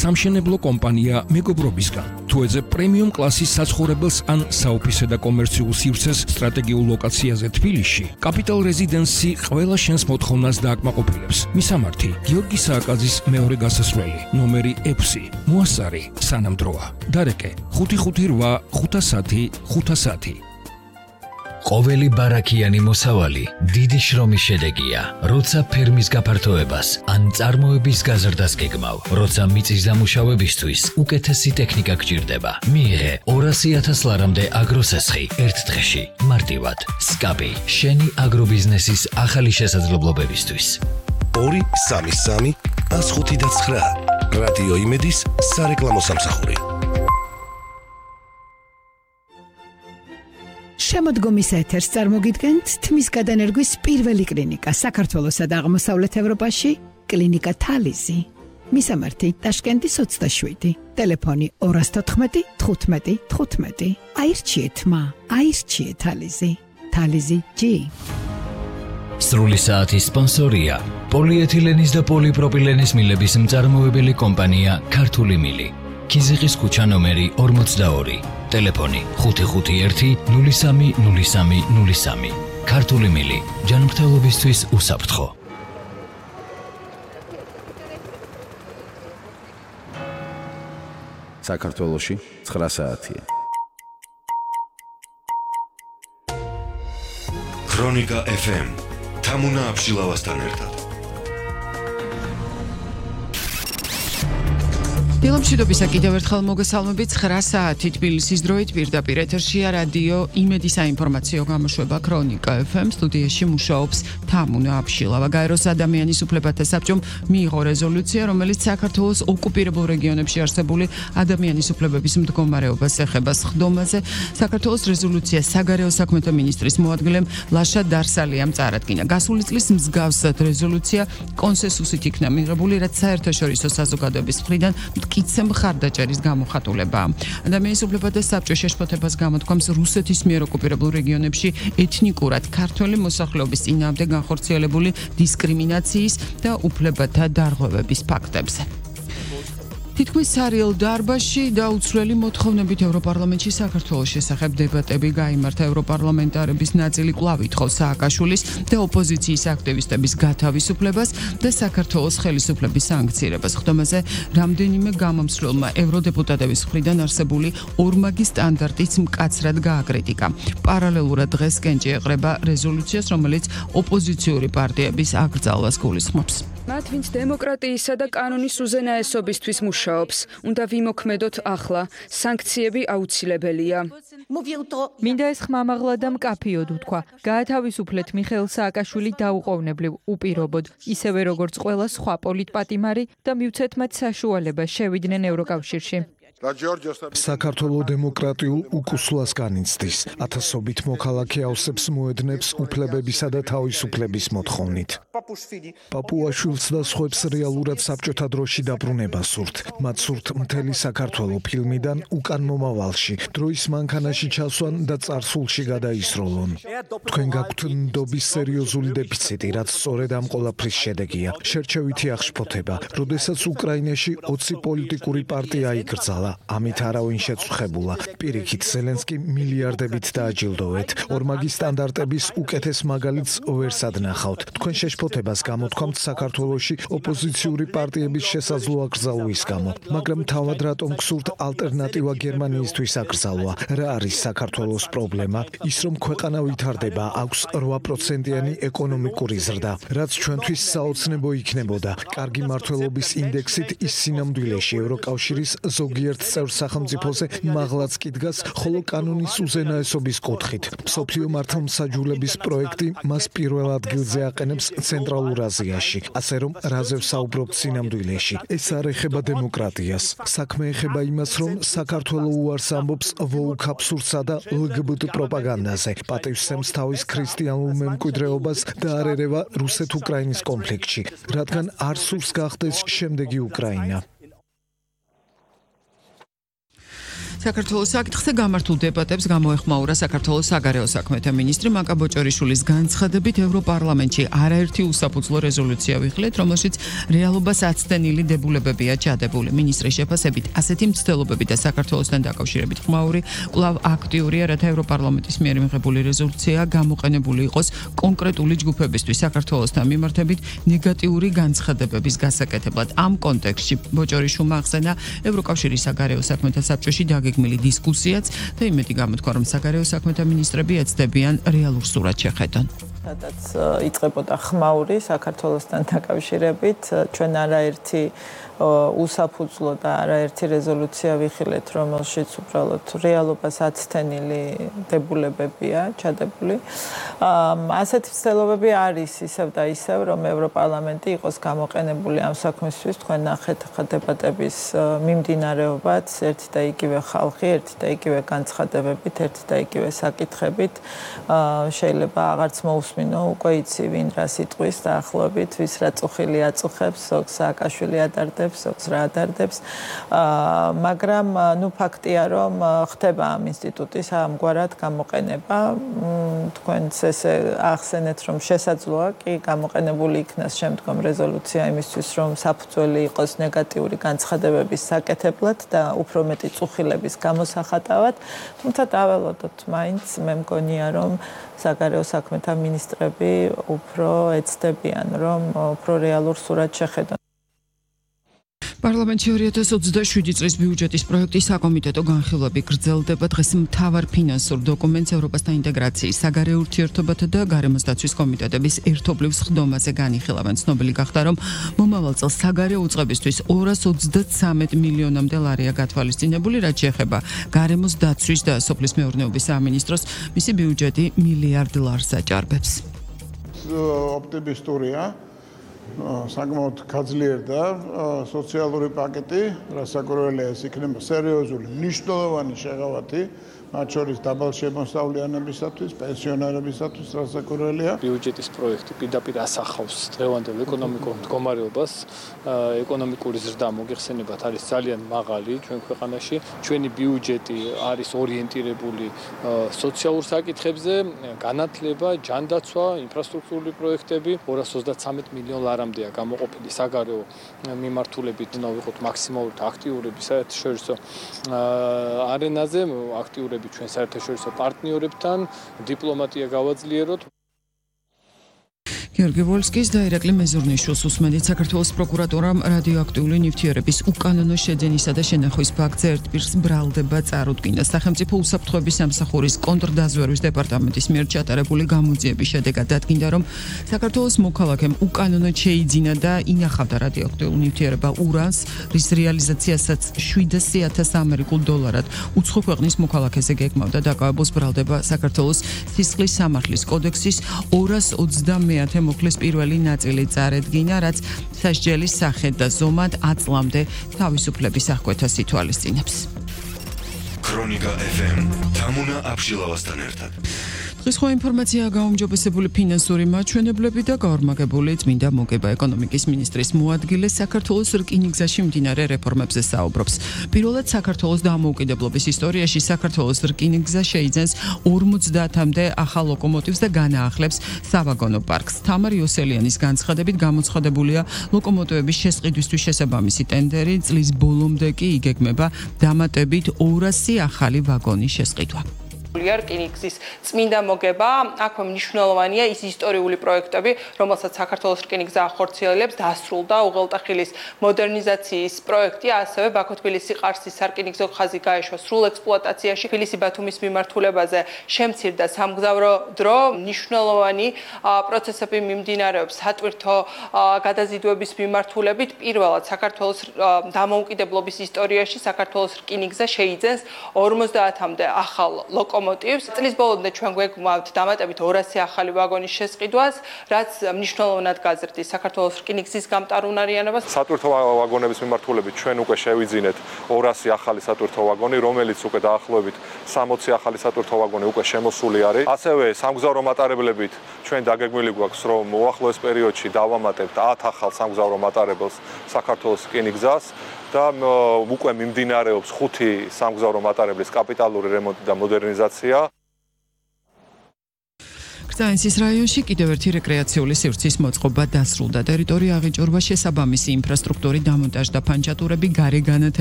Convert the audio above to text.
სამშენებლო კომპანია მეგობრობისგან. თუ ეძებ პრემიუმ კლასის საცხოვრებელს ან საოფისე და კომერციულ სივრცეს სტრატეგიულ ლოკაციაზე თბილისში, Capital Residency ყველა შენს მოთხოვნას დააკმაყოფილებს. მისამართი: გიორგი სააკაძის მეორე გასასვლელი, ნომერი 6, მოასწარი, სანამ დროა. დარეკე: 558 510 510. ყოველი ბარაქიანი მოსავალი დიდი შრომის შედეგია, როცა ფერმის გაფართოებას ან წარმოების გაზრდას გეგმავ, როცა მიწის დამუშავებისთვის უკეთესი ტექნიკა გჭირდება. მიიღე 200,000 ლარამდე აგროსესხი ერთ დღეში, მარტივად. SCAPI, შენი აგრობიზნესის ახალი შესაძლებლობებისთვის. 233 105.9 რადიო იმედის სარეკლამო სამსახური. შემოდგომის ეთერს წარმოგიდგენთ თმის გადანერგვის პირველი კლინიკა საქართველოსა და აღმოსავლეთ ევროპაში, კლინიკა თალიზი. მისამართი: ტაშკენტის 27, ტელეფონი 214 15 15. აირჩიეთ აირჩიეთ თალიზი. თალიზი G. სრული საათის სპონსორია პოლიეთილენის და პოლიპროპილენის მილების მწარმოებელი კომპანია ქართული მილი. ქიზიყის ქუჩა ნომერი 42, ტელეფონი 551 03 03 03. ქართული მილი, ჯანმრთელობისთვის უსაფრთხო. საქართველოში 9 საათია. ქრონიკა FM თამუნა აბშილავასთან ერთად. დილომშვიდობისა კიდევ ერთხელ მოგესალმებით. 9 საათი თბილისის დროით პირდაპირ ეთერშია რადიო იმედი საინფორმაციო გამოშვება ქრონიკა FM. სტუდიაში მუშაობს თამუნა აბშილავა. გაეროს ადამიანის უფლებათა საბჭომ მიიღო რეზოლუცია, რომელიც საქართველოს ოკუპირებულ რეგიონებში არსებული ადამიანის უფლებების მდგომარეობას ეხება. სხდომაზე საქართველოს რეზოლუცია საგარეო საქმეთა მინისტრის მოადგილემ ლაშა დარსალიამ წარადგინა. გასული წლის მსგავსად რეზოლუცია კონსენსუსით იქნა მიღებული, რაც საერთაშორისო საზოგადოების მხრიდან მტკიცე მხარდაჭერის გამოხატულებაა. ადამიანის უფლებათა საბჭო შეშფოთებას გამოთქვამს რუსეთის მიერ ოკუპირებულ რეგიონებში ეთნიკურად ქართველი მოსახლეობის წინააღმდეგ განხორციელებული დისკრიმინაციის და უფლებათა დარღვევების ფაქტებზე. თითქმის სარიელ დარბაზში დაუცვლელი მოთხოვნებით ევროპარლამენტში საქართველოს შესახებ დებატები გაიმართა. ევროპარლამენტარების ნაწილი კვლავ ითხოვს სააკაშვილის და ოპოზიციის აქტივისტების გათავისუფლებას და საქართველოს ხელისუფლების სანქცირებას. ხდომაზე რამდენიმე გამომცვლელმა ევროდეპუტატების მხრიდან არსებული ორმაგი სტანდარტიც მკაცრად გააკრიტიკა. პარალელურად დღეს კენჭი ეყრება რეზოლუციას, რომელიც ოპოზიციური პარტიების აკრძალვას გულისხმობს. მათ, ვინც დემოკრატიისა და კანონის უზენაესობისთვის მუშაობს, უნდა ვიმოქმედოთ ახლა. სანქციები აუცილებელია. მინდა ეს ხმამაღლა და მკაფიოდ უთქვა. გაათავისუფლეთ მიხეილ სააკაშვილი დაუყოვნებლივ, უპირობოდ, ისევე როგორც ყველა სხვა პოლიტპატიმარი და მივცეთ მათ საშუალება შევიდნენ ევროკავშირში. საქართველოს დემოკრატიულ უკუსლას განიცდის. ათასობით მოქალაქე ავსებს მოედნებს უფლებებისა და თავისუფლების მოთხოვნით. პაპუაშვილს და სხვებს რეალურად საბჭოთა დროში დაბრუნება სურთ. მათ სურთ მთელი საქართველო ფილმიდან უკან მომავალში, დროის მანქანაში ჩასვან და წარსულში გადაისროლონ. თქვენ გაქვთ ნდობის სერიოზული დეფიციტი, რაც სწორედ ამ ყველაფრის შედეგია. შერჩევითი აღშფოთება, როდესაც უკრაინაში 20 პოლიტიკური პარტია იკრძალა. ამით არავინ შეწუხებულა. პირიქით, ზელენსკი მილიარდებით დააჯილდოვეთ. ორმაგი სტანდარტების უკეთეს მაგალითს ვერ სადნახავთ. თქვენ შეშფოთებას გამოთქვამთ საქართველოში ოპოზიციური პარტიების შესაძლო აკრძალვის გამო. მაგრამ თავად რატომ გსურთ ალტერნატივა გერმანიისთვის აკრძალვა? რა არის საქართველოს პრობლემა? ის რომ ქვეყანა ვითარდება, აქვს 8%-იანი ეკონომიკური ზრდა, რაც ჩვენთვის საოცნებო იქნებოდა. კარგი მმართველობის ინდექსით ის სინამდვილეში ევროკავშირის ზოგიერთ წევრ სახელმწიფოზე მაღლაც კი დგას, ხოლო კანონის უზენაესობის კუთხით. მსოფლიო მართლმსაჯულების პროექტი მას პირველ ადგილზე აყენებს ცენტრალურ აზიაში, ასე რომ რაზე ვსაუბრობთ სინამდვილეში. ეს არ ეხება დემოკრატიას. საქმე ეხება იმას, რომ საქართველო უარს ამბობს ვოუქ აბსურდსა და ლგბტ პროპაგანდაზე. პატივსცემს თავის ქრისტიანულ მემკვიდრეობას და არ ერევა რუსეთ-უკრაინის კონფლიქტში, რადგან არ სურს გახდეს შემდეგი უკრაინა. საქართველოს საკითხზე გამართულ დებატებს გამოეხმაურა საქართველოს საგარეო საქმეთა მინისტრი მაკა ბოჭორიშვილის განცხადებით ევროპარლამენტში არაერთი უსაფუძვლო რეზოლუცია ვიხილეთ, რომელშიც რეალობას აცდენილი დებულებებია ჩადებული. მინისტრის შეფასებით, ასეთი მცდელობები და საქართველოსთან დაკავშირებით ხმაური კვლავ აქტიურია, რათა ევროპარლამენტის მიერ მიღებული რეზოლუცია გამოყენებული იყოს კონკრეტული ჯგუფებისთვის საქართველოსთან მიმართებით ნეგატიური განცხადებების გასაკეთებლად. ამ კონტექსტში ბოჭორიშვილმა ახსენა ევროკავშირის საგარეო საქმეთა საბჭოში გეგმილი დისკუსიაც და იმედი გამოთქვა, რომ საგარეო საქმეთა მინისტრები ეცდებიან რეალურ სურათს შეხედონ. სადაც იწყებოდა ხმაური საქართველოსთან დაკავშირებით, ჩვენ არაერთი უსაფუძვლო და არაერთი რეზოლუცია ვიხილეთ, რომელშიც უბრალოდ რეალობას აცდენილი დებულებებია ჩადებული. ასეთი ცდილობები არის ისევ და ისევ, რომ ევროპარლამენტი იყოს გამოყენებული ამ საქმისთვის. თქვენ ნახეთ ხა დებატების მიმდინარეობაც, ერთი და იგივე ხალხი, ერთი და იგივე განცხადებებით, ერთი და იგივე საკითხებით. შეიძლება აღარც მოусმინო უკვე იცი ვინ რა სიტყვის დაახლოებით, ვის რა წუხილი აწუხებს, ზოგს სააკაშვილი ადარდებს, ზოგს რა ადარდებს. მაგრამ ნუ ფაქტია, რომ ხდება ამ ინსტიტუტის ამგვარად გამოყენება. თქვენც ესე ახსენეთ, რომ შესაძლოა კი გამოყენებული იქნას შემდგომ რეზოლუცია იმისთვის, რომ საფუძველი იყოს ნეგატიური განცხადებების საკეთებლად და უფრო მეტი წუხილების გამოსახატავად. თუმცა დაველოდოთ მაინც, მე მგონია, რომ საგარეო საქმეთა მინისტრები უფრო ეცდებიან, რომ უფრო რეალურ სურათს შეხედონ. პარლამენტში 2027 წლის ბიუჯეტის პროექტის საკომიტეტო განხილვები გრძელდება. დღეს მთავარ ფინანსურ დოკუმენტს ევროპასთან ინტეგრაციის, საგარეო ურთიერთობათა და გარემოს დაცვის კომიტეტების ერთობლივ სხდომაზე განიხილავენ. ცნობილი გახდა, რომ მომავალ წელს საგარეო უწყებისთვის 233 მილიონამდე ლარია გათვალისწინებული, რაც შეეხება გარემოს დაცვის და სოფლის მეურნეობის სამინისტროს, მისი ბიუჯეტი $1 მილიარდ აჭარბებს. ოპტიმისტურია. საკმაოდ გაძლიერ და სოციალური პაკეტი, რასაკვირველია ეს იქნება სერიოზული, მნიშვნელოვანი შეღავათი, მათ შორის დაბალშემოსავლიანებისათვის, პენსიონერებისათვის, რასაკვირველია. ბიუჯეტის პროექტი პირდაპირ ასახავს დღევანდელ ეკონომიკურ მდგომარეობას, ეკონომიკური ზრდა მოგეხსენებათ არის ძალიან მაღალი ჩვენ ქვეყანაში. ჩვენი ბიუჯეტი არის ორიენტირებული სოციალურ საკითხებზე, განათლება, ჯანდაცვა, ინფრასტრუქტურული პროექტები, 233 მილიონ ლარამდეა გამოყოფილი საგარეო მიმართულებით, ვიყოთ მაქსიმალურად აქტიურები საერთაშორისო არენაზე, აქტიურები ჩვენ საერთაშორისო პარტნიორებთან, დიპლომატია გავაძლიეროთ. გიორგი ვოლსკის და ირაკლი მეზურნიშვილს უსმენთ. საქართველოს პროკურატურამ რადიოაქტიული ნივთიერების უკანონო შეძენისა და შენახვის ფაქტზე ერთპირს ბრალდება წარუდგინა. სახელმწიფო უსაფრთხოების სამსახურის კონტრდაზვერვის დეპარტამენტის მიერ ჩატარებული გამოძიების შედეგად დადგინდა, რომ საქართველოს მოქალაქემ უკანონოდ შეიძინა და ინახავდა რადიოაქტიურ ნივთიერება ურანს, რის რეალიზაციასაც $700,000 უცხო ქვეყნის მოქალაქეზე გეგმავდა. დაკავებულს ბრალდება საქართველოს სისხლის სამართლის კოდექსის 220 მოხლის პირველი ნაწილი წარედგინა, რაც სასჯელის სახედ და ზომად 10 წლამდე თავისუფლების აღკვეთას ითვალისწინებს. ქრონიკა FM თამუნა აბშილავასთან ერთად. დღეს ხო ინფორმაციაა გაუმჯობესებული ფინანსური მაჩვენებლები და გაორმაგებული წმინდა მოგება. ეკონომიკის მინისტრის მოადგილე საქართველოს რკინიგზაში მიმდინარე რეფორმებზე საუბრობს. პირველად საქართველოს დამოუკიდებლობის ისტორიაში საქართველოს რკინიგზა შეიძენს 50-მდე ახალ ლოკომოტივს და განაახლებს სავაგონო პარკს. თამარ იოსელიანის განცხადებით გამოცხადებულია ლოკომოტივების შესყიდვისთვის შესაბამისი ტენდერი, წლის ბოლომდე კი იგეგმება დამატებით 200 ახალი ვაგონის შესყიდვა. რკინიგზის წმინდა მოგება, აქვე მნიშვნელოვანია ის ისტორიული პროექტები, რომელსაც საქართველოს რკინიგზა ახორციელებს, დასრულდა უღელტეხილის მოდერნიზაციის პროექტი, ასევე ბაქო-თბილისი-ყარსის სარკინიგზო ხაზი გაეშვა სრულ ექსპლუატაციაში, თბილისი-ბათუმის მიმართულებაზე შემცირდა სამგზავრო დრო, მნიშვნელოვანი პროცესები მიმდინარეობს სატვირთო გადაზიდვების მიმართულებით. პირველად საქართველოს დამოუკიდებლობის ისტორიაში საქართველოს რკინიგზა შეიძენს 50-მდე ახალ ლოკომოტივს. წლის ბოლომდე ჩვენ გვეგმავთ დამატებით 200 ახალი ვაგონის შესყიდვას, რაც მნიშვნელოვნად გაზრდის საქართველოს რკინიგზის გამტარუნარიანებას. სატვირთო ვაგონების მიმართულებით ჩვენ უკვე შევიძინეთ 200 ახალი სატვირთო ვაგონი, რომელიც უკვე დაახლოებით 60 ახალი სატვირთო ვაგონი უკვე შემოსული არის. ასევე სამგზავრო მატარებლებით ჩვენ დაგეგმილი გვაქვს, რომ უახლოეს პერიოდში დავამატებთ 10 ახალ სამგზავრო მატარებელს საქართველოს რკინიგზას და უკვე მიმდინარეობს 5 სამგზავრო მატარებლის კაპიტალური რემონტი და მოდერნიზაცია. კრწანისის რაიონში კიდევ ერთი რეკრეაციული სივრცის მოწყობა დასრულდა. ტერიტორია აღიჭურვა შესაბამისი ინფრასტრუქტურის დამონტაჟდა, ფანჩატურები, გარე განათება